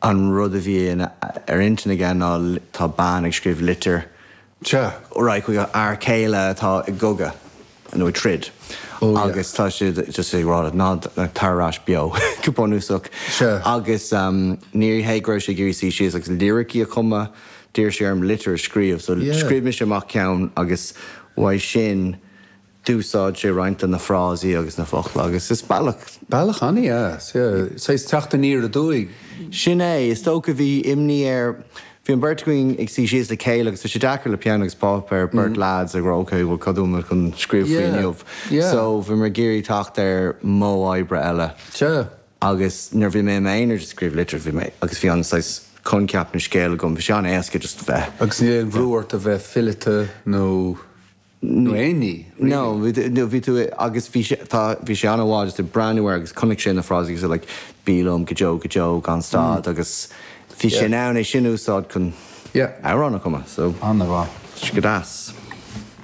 An rud a bhí ar intinn aige ná tá bean ag scríobh litir Sea. right chuig a fhear céile atá i gcogadh nó ag troid Oh yeah. agus tá siad just ag rá ná tar ar ais beo go bunúsach. Sea. Agus ní hé go raibh sé ag iarraidh suí síos agus liricí a chumadh, d'iarr sé orm litir a scríobh so Yeah. scríobh mise amach ceann agus uaidh sin D'úsáid sé roinnt de na frásaí agus na focla agus is bealach. Bealach an-dheas, yeah. Saghas teacht aniar aduaidh. Sin é. Is dócha bhí imní air. Bhí an bheirt againn ag suí síos le chéile agus tá sé deacair le peann agus páipéar, beirt lads ag rá ok, bhuel cad bhfuil muid chun scríobh faoi inniu? So bhí muid ag iarraidh teacht ar mhodh oibre eile. Sea. Agus nuair a bhí mé i m'aonar just ag scríobh litir, bhí mé, agus bhí an saghas coincheap na scéal agam, bhí sé an-éasca just bheith. Agus níl aon bhrú ort a bheith fileata nó. Nó aon ní, really. No, no, bhí tú, agus bhí sé, tá, bhí sé an-mhaith just ag breathnú air agus chonaic sé na frásaí agus like, bí liom go deo, go deo, gan stad agus bhí sé in ann é sin a úsáid chun Yeah. amhrán a chumadh, so. An-mhaith. Go deas.